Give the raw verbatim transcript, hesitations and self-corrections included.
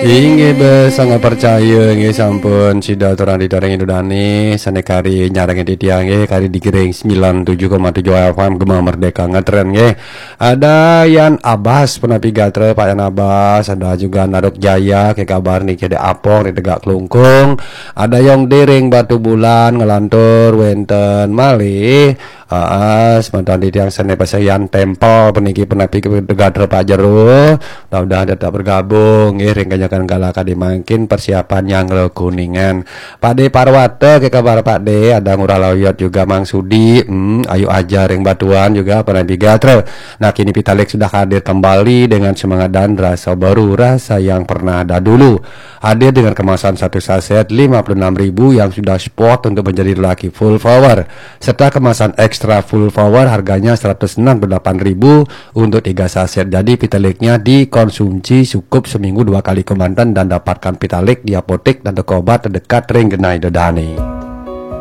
Inggih, bes, sangat percaya, inggih, sampun sida aturang titiang ring Ida Dane, sane kari nyarengin titiang, inggih, kari digiring sembilan tujuh koma tujuh F M Gema Merdeka ngetren, inggih. Ada Yan Abbas, punapi gatra, Pak Yan Abbas, ada juga Naruk Jaya, ke kabar niki ada Apong di Tegak Klungkung, ada Yong Dering Batu Bulan, ngelantur, wenten malih, Aa, semeton titiang sane pasayan tempel puniki punapi gatra Pak Jero. Mudah-mudahan tetap bergabung, nggih, ring kanyakan kala kadi mangkin persiapan nyanggra kuningan. Pak De Parwata, ke kabar Pak De? Ada Ngurah Lauyot juga Mang Sudi. Hmm, Ayu Aja ring Batuan juga punapi gatra. Nah, kini Pitalik sudah hadir kembali dengan semangat dan rasa baru, rasa yang pernah ada dulu. Hadir dengan kemasan satu saset lima puluh enam ribu yang sudah spot untuk menjadi lelaki full power, serta kemasan extra full power harganya seratus enam puluh delapan ribu untuk tiga saset. Jadi, Pitaliknya dikonsumsi cukup seminggu dua kali kemanten dan dapatkan Pitalik di apotek dan toko obat terdekat ring genah Ida Dane.